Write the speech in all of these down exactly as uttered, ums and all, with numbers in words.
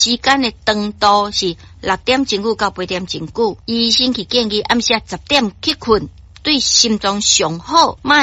時間的長度是六點鐘久到八點鐘久。醫生去建議暗時仔十點去睏，對心臟上好，莫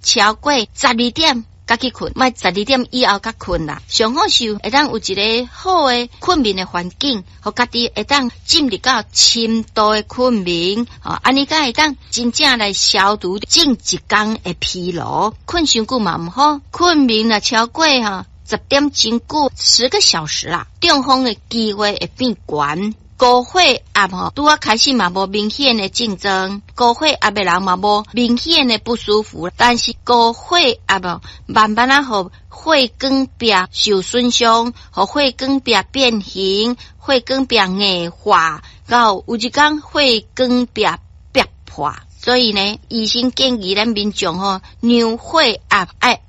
超過十二點才去睏，莫十二點以後才睏啦。上好是會當有一个好的睏眠的環境，予家己會當進入到深度的睏眠，吼，按呢才會當真正來消除整一工的疲勞。睏傷久嘛毋好，睏眠若超過吼十點鐘久，十個小時啦，中風的機會會變懸。高血壓吼，拄仔開始嘛無明顯的症狀，高血壓的人嘛無明顯的不舒服，但是高血壓哦，慢慢仔予血管壁受損傷，予血管壁變形，血管壁硬化，到有一工血管壁爆破。所以呢，醫生建議咱民眾吼，量血壓愛學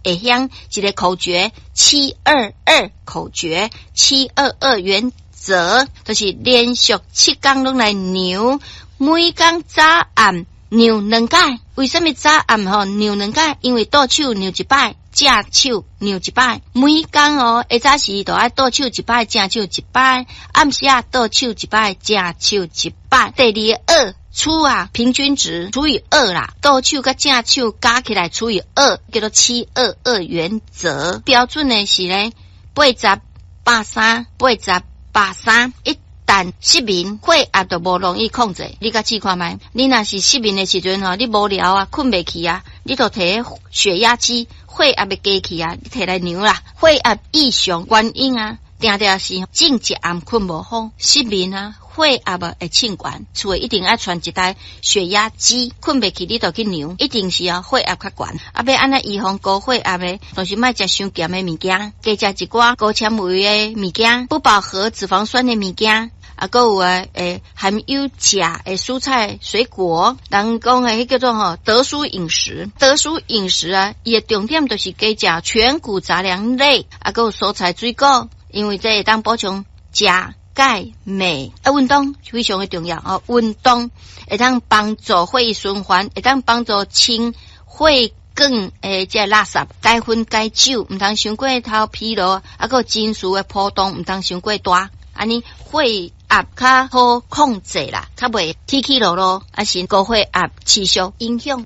會曉一个口訣：七二二口訣，七二二原則，就是連續七工攏來量，每工早暗量兩擺。為啥物早暗吼量兩擺？因為倒手量一擺，正手量一擺。每工哦，下早時就愛倒手一擺，正手一擺；暗時仔倒手一擺，正手一擺。第二個二除啊，平均值除以二啦，倒手佮正手加起來除以二，叫做七二二原則。標準的是呢，八十百三，八十百三。一旦失眠，血壓就無容易控制。你共試看覓？你若是失眠的時陣吼，你無聊啊，睏袂去啊，你就提血壓機，血壓的機器啊，你提來量啦。血壓異常原因啊，定定是前一暗睏無好，失眠啊，血壓會衝懸，厝內一定愛揣一台血壓機，睏袂去你就去量，一定是啊血壓較懸。啊，欲按怎預防高血壓的，就是莫食傷鹹的物件，加食一寡高纖維的物件，不飽和脂肪酸的物件。啊，閣有啊，會含有鉀的蔬菜水果，人講的彼叫做吼得舒飲食。得舒飲食啊，伊的重點就是加食全穀雜糧類，啊，閣有蔬菜水果，因為這會當補充鉀、鈣、鎂。啊，運動非常的重要哦，運動會當幫助血液循環，會當幫助清血管的這垃圾，該薰該酒，毋通傷過頭疲勞，啊，閣有情緒的波動，毋通傷過大。按呢血壓較好控制啦，較袂起起落落，抑是高血壓持續影響。